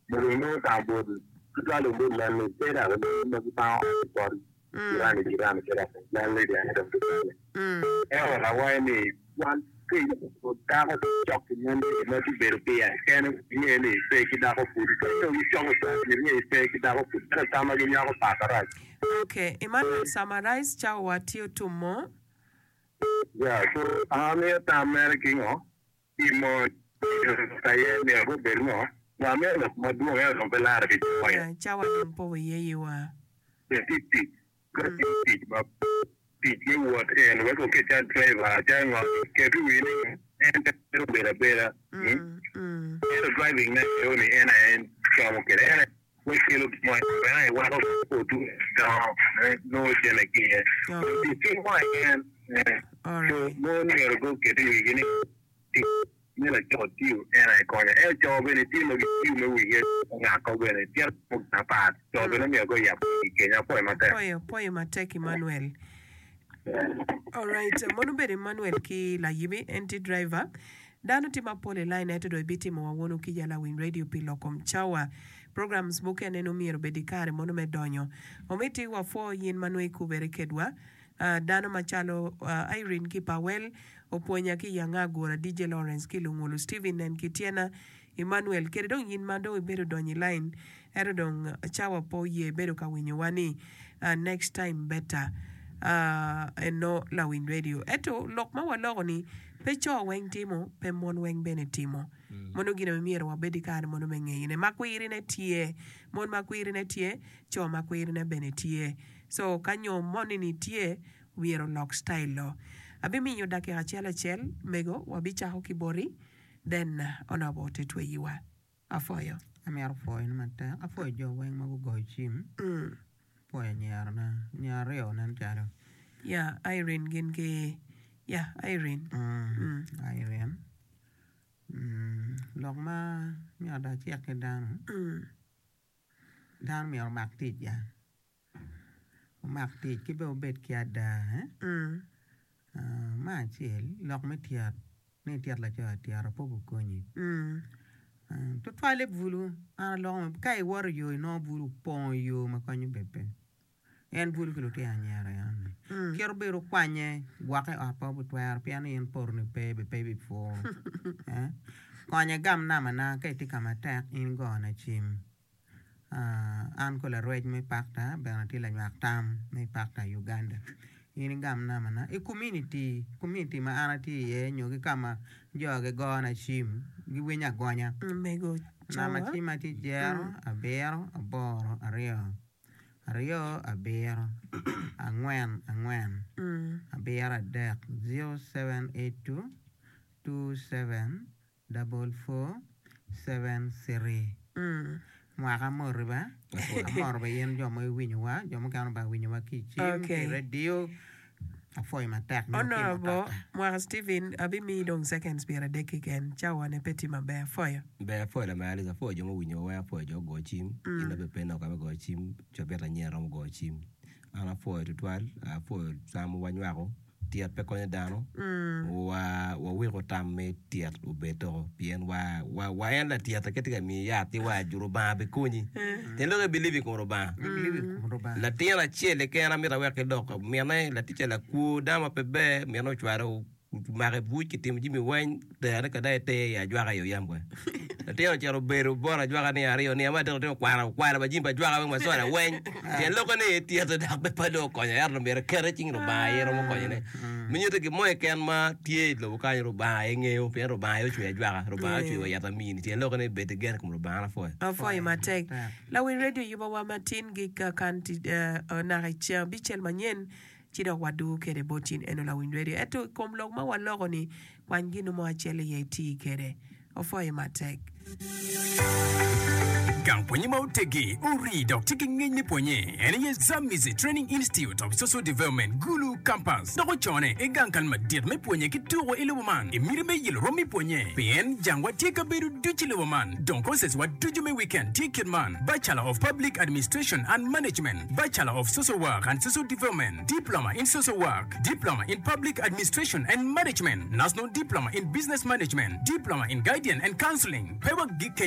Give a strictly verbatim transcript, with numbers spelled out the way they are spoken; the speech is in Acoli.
Mogo inongo ka bot tutwal obed landlady pe dok ma gipango ot bot jirani jirani pe dok landlady aye dong tutwalle. Ento awaco ni wan dako cok ki landlady ma tye bedo pire kene inge ni pe ki dako pud ka dong gicoko inge ni pe ki dako pud ento tam ma ginywako pat marac. Okay, Emmanuel summarize cawa wa tye otumo. Yeah, so an amiyo tam mere ki ngo ki mon aye myero gubed ngo wa amiyo lok madwong ento dong pe lare ki cawa Yeah, cawa dong pe oye yiwa. tic tic ka tye tic ma tic me wot en wek oket cal driver cal ngo ket i wi ni en pe obedo abeda Mm, mm. ento driving ne eo ni en aye en como kwede en aye wek kelo gin mo en aye weko otu dongo nongo cene ki iye Oh. tic ki mo en so Alright. mon myero guket i wigi ni tic me laco tiyo en aye konyo ento co bene tye ma gitiyo me wigi ongako bene tye apat co bene myero guyab wigi kenya apwoyo matek Poyo, poyo matek Emmanuel. Alright, mono bedo Emmanuel ki layibi en tye driver. Dano tye mapol i line ento dong ibitimo wa wunu ki yala winy radio pi loko cawa. Programs mukene no myero obed i kare mono me donyo. Omiti wapwo yin ma nongo ikubere kedwa. Uh, dano macalo uh, Irene ki Pawel opwonya ki Yanga Agura DJ Lawrence ki Lungulu Steven nen ki Tiena Emmanuel kede dong yin ma dong ibedo donyo i line ento dong cawa po ye bedo ka winyowa ni uh, next time better uh, eno lawiny radio ento lok ma waloko ni pe co weng timo pe mon weng bene timo mono gino myero wabed i kare mono me ngeyone ma kwirine tye mon ma kwirine tye co ma kwirine bene tye so ka nyo moni ni tye myero lok style lo abimiyo dakika acel acel mego wabicako ki boti then onobo te tweyiwa afoyo Amito pwoyo ni matek apwoyo jo weng ma gugoyo cim mm. apwoyo anyirana anyira aryo nen calo ya Irene gin ki ya Irene mm. mm. Irene mm. lok ma myero dong acik ki dano Mm. dano myero omak tic ya omak tic ki bene obed ki ada eh? Mm. Uh, me acel lok me tyet ni ityet laco atyeta pe obikonyi Mm. Uh, tutwalle bulu an aloko ka iwoto i yo inongo bulu opongo yo ma konyo bene pe en bulu ki lutino anyira yani Mm. kit obedo kwanye gwokke i ot pe obitwero pien ni in potoni pe be pe ibipuro eh? Konye gam nambana ka itye ka matek in gona cim uh, an ko larwec me pakta bene atye lanywak tam me pakta Uganda in igam nambana i community community ma an atye iye nyo ki kama jo gigona cim giwinyo agonya mego namba cawa cimma tye jero mm. abiro aboro aryo aryo abiro angwen angwen Mm. abiro adek zero seven eight two two seven double four seven three Mm. mwaka amoti ba amoro ba in jo ma iwinyowa jo mukene ba winyowa ki i cim ki okay i radio apwoyo matek nyo ki Honorable mutoka Mwaka Stephen abimiyi dong seconds pyera adek keken cawa ne pe tye maber afoyo Ber apwoyo lamera Alice apwoyo jo ma owinyowa weng apwoyo jo ogo cim in mm. abe pe nok ame goyo cim cabit anyira romo goyo cim an apwoyo tutwal apwoyo tam ma wanywako tyet pe konyo dano Mm. wa waweko tam me tyet obed toko pien wa wa wa en latyet ka tye ka miyi yat ti wa Rubanga bikonyi tyen lok i believe i kom Rubanga I believe i kom Rubanga latin acel keken amito awek ki lok mine laticca lakwo dano ma pe ber mine ocwalo omako i buc kitimo jami weng terone ka dong iter i ajwaka i oyam kwe latin ocito obedo bot ajwaka ni aryo ni ama adek latin okwano okwalo wa jami pa ajwaka weng macola weng tyen lokke ni tyete dok pe pe dong okonyo ento myero ekete i cing Rubanga aye romo konyone me nyuto gin mo keken ma tye i lobo kany Rubanga aye ngeyo pien Rubanga aye ocweyo ajwaka Rubanga aye ocweyo wa yat amini tyen lokke ni bed ki gen i kom Rubanga an apwoyo afoyo apwoyo matek matek lawiny radio yubowa matin gi kakan ti uh, naka i ceng abicel manyen ci dok wadugo kede bot in eno lawiny radio ento i kom lok ma waloko ni kwany gino mo acel iye iti kede ofoyo matek Gang pwonye ma otegi ori dok tye ki ngec me pwonye en aye Zamizi Training Institute of Social Development Gulu Campus dok ocone i gang kal madit me pwonye ki tuko i lobo man i miti me yelo rom i pwonye pien jangwa tye kabedo ducu i lobo man dong courses wa ducu me weekend tye kit man Bachelor of Public Administration and Management Bachelor of Social Work and Social Development Diploma in Social Work Diploma in Public Administration and Management National Diploma in Business Management Diploma in Guidance and Counseling pe wa gi kenyo